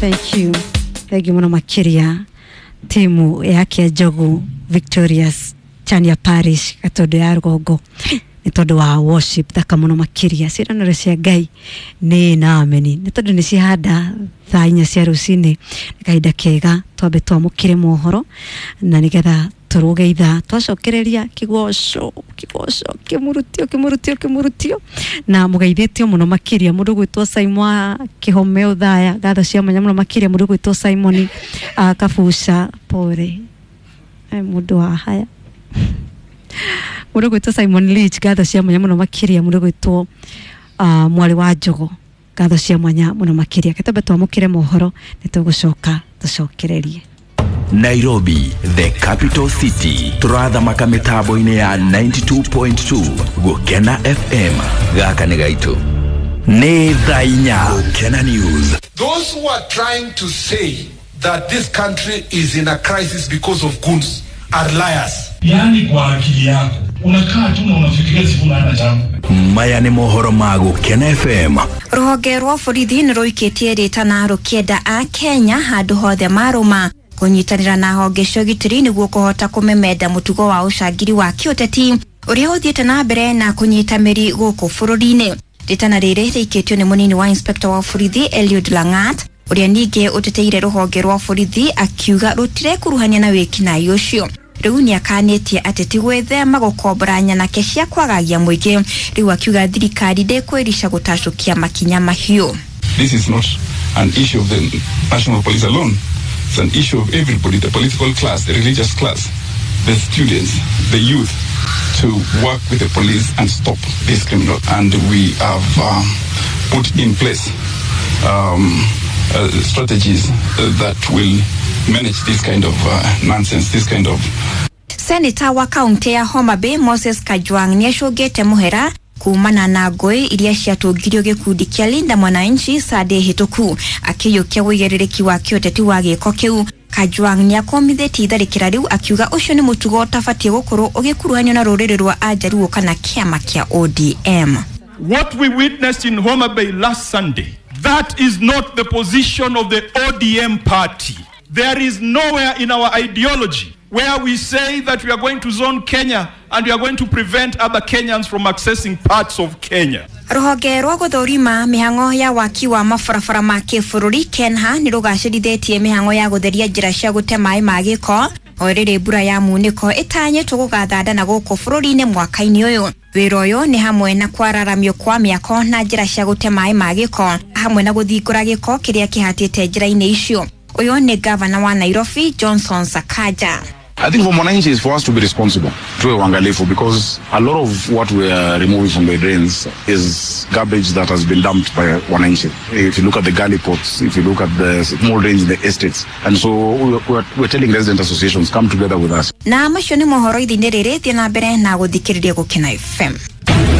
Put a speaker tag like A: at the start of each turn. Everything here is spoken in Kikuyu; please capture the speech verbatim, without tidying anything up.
A: Thank you. Thank you muno makiria timu ya Kiajogu Victorious Chania Parish Gatondo ya Rũgongo nĩ tondũ wa worship thaka muno makiria ciĩranĩro cia Ngai nĩ na ameni nĩ tondũ nĩ cihanda thaa inya cia rũcinĩ nĩ kahinda kega twambe twamũkĩre mohoro na nĩgetha tũrũge ithaa twacokereria kĩgoco kĩgoco kĩmurutio kĩmurutio kĩmurutio na mũgeithĩtio mũno makĩria mũndũ gwĩtwo Simon wa Kĩhome Ũthaya ngatho cia mwanya mũno makĩria mũndũ gwĩtwo Simon uh, Kabuca pore mũndũ wa haya mũndũ gwĩtwo Simon Leach ngatho cia mwanya mũno makĩria mũndũ gwĩtwo uh, mwarĩ wa Njogo ngatho cia mwanya mũno makĩria ketombe twamũkĩre mohoro nĩ tũgũcoka tũcokererie.
B: Nairobi, the capital city. Turathamaka mitambo-inĩ ya ninety-two point two Gukena F M. Gaka nĩ gaitũ. Nĩ thaa inya. Gukena News.
C: Those who are trying to say that this country is in a crisis because of goons are liars.
D: Yani kwa akili yako unakaa tu na unafikiria Sifuna hana jambo.
B: Maya nĩ mohoro ma Gukena F M.
E: Rũhonge rwa borithi nĩ rũikĩtie rĩtana rũkĩenda a Kenya handũ hothe marũma kũnyitanĩra na honge cia ũgitĩri nĩguo kũhota kũmemenda mũtugo wa ũcangiri wa kĩũteti ũrĩa ũthiĩte na mbere na kũnyita mĩri gũkũ bũrũri-inĩ. Rĩtana rĩrĩ rĩikĩtio nĩ mũnini wa inspector wa borithi Eliud Langat ũrĩa ningĩ ũteteire rũhonge rwa borithi akiuga rũtirekuruhania na wĩkinaĩ ũcio. Rĩu nĩakanĩtie atĩ ti gwĩthema gũkombora nyanake cia kwagagia mũingĩ. Rĩu akiuga thirikari ndĩkwĩrica gũtacũkia makinya mahiũ.
F: This is not an issue of the national police alone. It's an issue of everybody, the political class, the religious class, the students, the youth, to work with the police and stop this criminal. And we have um, put in place um, uh, strategies that will manage this kind of uh, nonsense, this kind of...
E: Senator wa kaunti ya Homa Bay Moses Kajwang nĩacũngĩte mũhera kumana na ngũĩ iria ciatũngirio gĩkundi kĩa Linda Mwananchi Sunday hĩtũku akĩiyũkia ũigĩrĩrĩki wa kĩũteti wa gĩko kĩu. Kajwang nĩakomithĩtie itharĩkĩra rĩu akiuga ũcio nĩ mũtugo ũtabatiĩ gũkorwo ũgĩkuruhanio na rũrĩrĩ rwa Ajaruo kana kĩama kĩa O D M.
D: What we witnessed in Homa Bay last Sunday, that is not the position of the O D M party. There is nowhere in our ideology where we say that we are going to zone Kenya and we are going to prevent other Kenyans from accessing parts of Kenya.
E: Rũhonge rwa gũthũrima mĩhang'o ya waki wa mabarabara ma kĩbũrũri Kenha nĩ rũgacĩrithĩtie mĩhang'o ya gũtheria njĩra cia gũte maĩ ma gĩko o rĩrĩ mbura ya munĩko ĩtanyĩtwo gũgathanda na gũkũ bũrũri-inĩ mwaka-inĩ ũyũ. Wĩra ũyũ nĩ hamwe na kwararamio kwa mĩako na njĩra cia gũte maĩ ma gĩko hamwe na gũthingũra gĩko kĩrĩa kĩhatĩte njĩra-inĩ icio. Ũyũ nĩ gavana wa Nairobi Johnson Sakaja.
F: I think for Mwananchi is for us to be responsible, tuwe waangalifu, because a lot of what we are removing from the drains is garbage that has been dumped by Wananchi. If you look at the gully pots, if you look at the small drains in the estates, and so we're, we're telling resident associations, come together with us.
E: Na macio nĩ mohoro ithinĩ rĩrĩ thiĩ na mbere na gũthikĩrĩria Gũkena F M.